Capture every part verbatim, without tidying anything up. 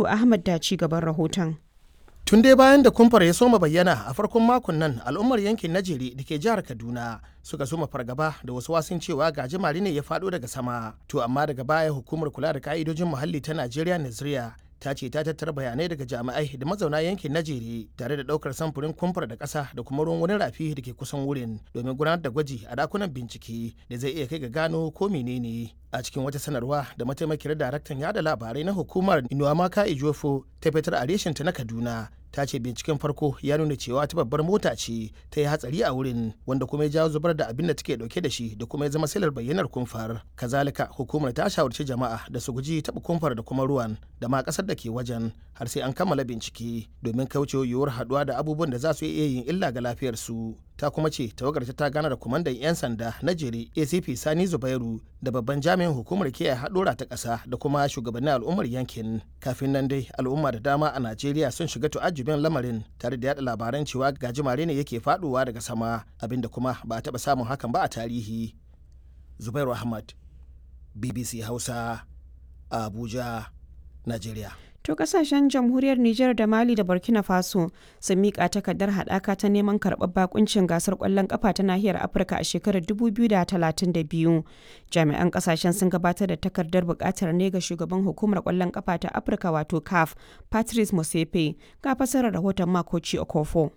Ahmad da ci gaban rahoton. Tun dai bayan da kumfar ya soma bayyana a farkon makon nan, al'ummar yankin Najeri da ke jihar Kaduna suka soma fargaba da wasu wasun cewa gajimare ne ya faɗo daga sama. To amma daga baya hukumar kula da ka'idojin muhalli ta Najeriya, Naziriya, ta ce ta tattara bayanai daga jami'ai da mazauna yankin Najeri tare da ɗaukar samfurin kumfar da ƙasa da kuma ruwan wani rafi da ke kusan wurin domin gudanar da gwaji a dakunan bincike da zai iya kai ga gano ko menene. A cikin wata sanarwa da mataimakiyar daraktan yada labarai na hukumar, Inuwamaka Ijofo, ta fitar a reshenta na Kaduna, ta ce binciken farko ya nuna cewa ta babbar mota ce ta yi hatsari a wurin, wanda kuma ya jawo zubar da abin da take dauke da shi da kuma ya zama silar bayyanar kumfar. Kazalika hukumar ta shawarci jama'a da su guji taɓa kumfar da kuma ruwan da ma ƙasar da ke wajen har sai an kammala bincike domin kauce yiwuwar haɗuwa da abubuwan da za su iya yin illa ga lafiyarsu. Ta kuma ce tawagar ta gana da kwamandan 'yan sanda na Jere, A C P Sani Zubairu, da babban jami'in hukumar kiyaye haɗura ta ƙasa da kuma shugabannin al'ummar yankin. Kafin nan dai al'umma da dama a Najeriya sun shiga tu'ajjubin lamarin tare da yada labaran cewa gajimare ne yake faduwa daga sama, abinda kuma ba a taɓa samun hakan ba a tarihi. Zubairu Ahmad, B B C Hausa, Abuja, Najeriya. To kasashen Jamhuriyar Nijar da Mali da Burkina Faso sun miƙa takardar haɗaka ta neman karɓar bakuncin gasar ƙwallon ƙafa ta nahiyar Afirka a shekarar dubu biyu da talatin da biyu. Jami'an kasashen sun gabatar da takardar buƙatar ne ga shugaban hukumar ƙwallon ƙafa ta Afirka wato CAF, Patrice Motsepe. Ga fasarar rahoton Makoci Okofo.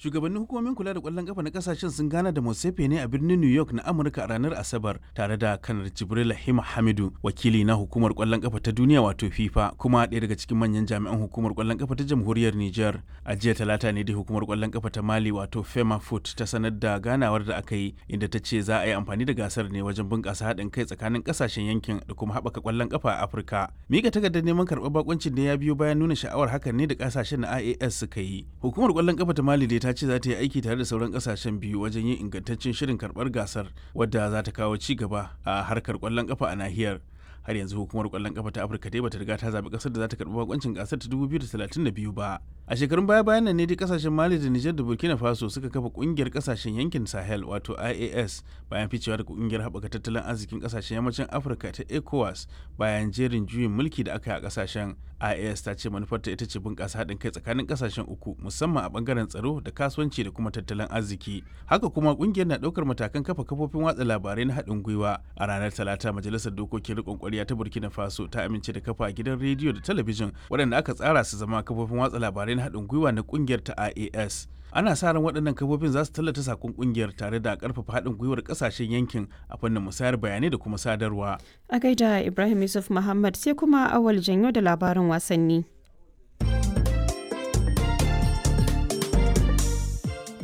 Shugabannin hukumomin kula da kwallon kafa na kasashen sun gana da Motsepe ne a birnin New York na Amurka a ranar Asabar tare da Kanar Jibril Hima Hamidu, wakili na hukumar kwallon kafa ta duniya wato FIFA, kuma ɗaya daga cikin manyan jami'an hukumar kwallon kafa ta Jamhuriyar Niger. A jiya Talata ne da hukumar kwallon kafa ta Mali wato Fema Foot ta sanar da ganawar da aka yi, inda ta ce za a yi amfani da gasar ne wajen bunƙasa haɗin kai tsakanin kasashen yankin da kuma haɓaka kwallon kafa a Afirka. Mika takardar neman karɓar bakuncin ne ya biyo bayan nuna sha'awar hakan ne da kasashen na I A S suka yi. Hukumar kwallon kafa ta Mali dai ta ce za ta yi aiki tare da sauran kasashen biyu wajen yin ingantaccen shirin karbar gasar wadda za ta kawo ci gaba a harkar kwallon kafa a nahiyar. Har yanzu hukumar kwallon kafa ta Afirka dai bata riga ta zabi kasar da za ta karbi bakoncin gasar ta dubu biyu da talatin da biyu ba. A shekarun baya bayan nan ne dai kasashen Mali da Niger da Burkina Faso suka kafa kungiyar kasashen yankin Sahel wato I A S bayan ficewa daga kungiyar haɓaka tattalin arzikin kasashen yammacin Afirka ta ECOWAS bayan jerin juyin mulki da aka yi a kasashen. I A S ta ce manufarta ita ce bunƙasa haɗin kai tsakanin kasashen uku, musamman a bangaren tsaro da kasuwanci da kuma tattalin arziki. Haka kuma kungiyar na ɗaukar matakan kafa kafofin watsa labarai na haɗin gwiwa. A ranar Talata majalisar dokokin riƙon ƙwarya ta Burkina Faso ta amince da kafa gidan rediyo da talabijin waɗanda aka tsara su zama kafofin watsa labarai na haɗin gwiwa na ƙungiyar ta I A S. Ana sa ran waɗannan kafofin za su tallata sakon ƙungiyar tare da ƙarfafa haɗin gwiwar ƙasashen yankin a fannin musayar bayanai da kuma sadarwa. A gaida Ibrahim Yusuf Muhammad. Sai kuma Awal Janyo da labarin wasanni.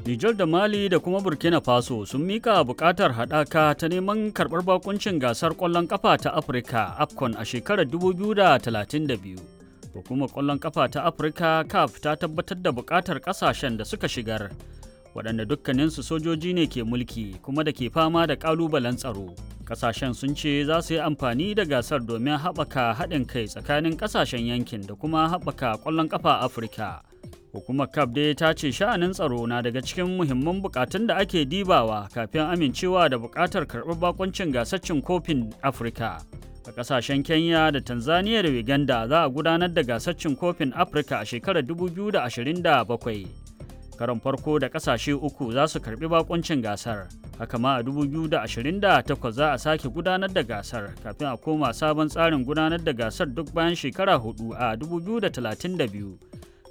Nijar da Mali da kuma Burkina Faso sun mika bukatar haɗaka ta neman karɓar bakuncin gasar ƙwallon ƙafa ta Afirka AFCON a shekarar dubu biyu da talatin da biyu. Hukumar ƙwallon ƙafa ta Afirka CAF ta tabbatar da bukatar ƙasashen da suka shigar, waɗanda dukkaninsu sojoji ne ke mulki kuma da ke fama da ƙalubalen tsaro. Ƙasashen sun ce za su yi amfani da gasar domin haɓaka haɗin kai tsakanin ƙasashen yankin da kuma haɓaka ƙwallon ƙafa Afirka. Hukumar CAF dai ta ce sha'anin tsaro na daga cikin muhimman bukatun da ake dibawa kafin amincewa da bukatar karɓar bakuncin gasar cin kofin Afirka. A ƙasashen Kenya da Tanzania da Uganda za a gudanar da gasar cin kofin Afirka a shekarar dubu biyu da ashirin da bakwai. Karon farko da ƙasashe uku za su karɓi bakuncin gasar. Haka ma a dubu biyu da ashirin da takwas za a sake gudanar da gasar kafin a koma sabon tsarin gudanar da gasar duk bayan shekara hudu a dubu biyu da talatin da biyu,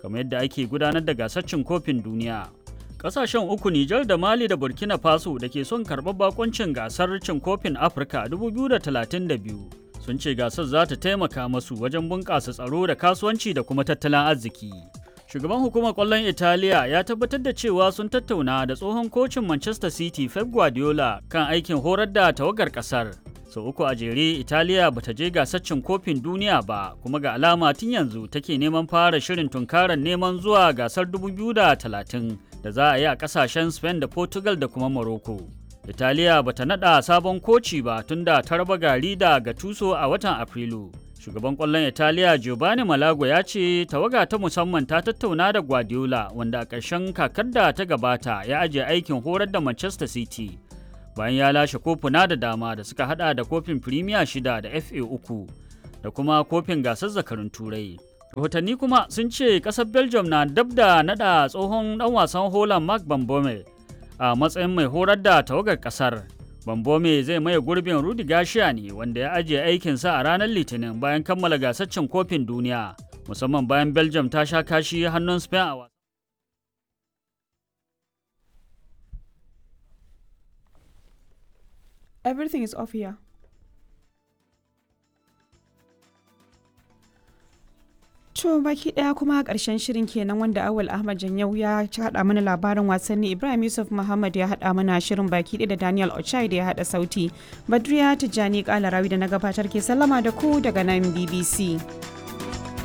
kamar yadda ake gudanar da gasar cin kofin duniya. Kasashen uku, Nijar da Mali da Burkina Faso, da ke son karɓar bakuncin gasar cin kofin Afirka dubu biyu da talatin da biyu sun ce gasar za ta taimaka masu wajen bunƙasa tsaro da kasuwanci da kuma tattalin arziki. Shugaban hukumar ƙwallon Italiya ya tabbatar da cewa sun tattauna da tsohon kocin Manchester City Pep Guardiola kan aikin horar da tawagar ƙasar. Sau uku a jere Italiya bata je gasar cin kofin duniya ba, kuma ga alama tun yanzu take neman fara shirin tunkarar neman zuwa gasar dubu biyu da talatin da za a yi a kasashen Spain da Portugal da kuma Morocco. Italiya bata nada sabon koci ba tunda ta raba gari da Gattuso a watan Afrilu. Shugaban kwallon Italiya Giovanni Malago ya ce tawaga ta musamman ta tattauna da Guardiola, wanda a ƙarshen kakar da ta gabata ya ajiye aikin horar da Manchester City bayan ya lashe kofuna da dama da suka hada da kofin Premier shida da F A uku da kuma kofin gasar zakarun Turai. Rahotanni kuma sun ce ƙasar Belgium na dab da naɗa tsohon ɗan wasan Holland Mark Bambome a matsayin mai horar da tawagar ƙasar. Bambome zai maye gurbin Rudi Garcia ne wanda ya ajiye aikinsa a ranar Litinin bayan kammala gasar cin kofin duniya, musamman bayan Belgium ta sha kashi hannun Spain a wasan. Everything is off here. To baki daya kuma karshen shirin kenan wanda Awal Ahmad Janyau ya haɗa mana labarin wasanni, Ibrahim Yusuf Muhammad ya haɗa mana shirin baki ɗaya da Daniel Ochai da ya haɗa sauti. Badriya Tijjani Kalarawi da na gabatar ke sallama da ku daga nan B B C.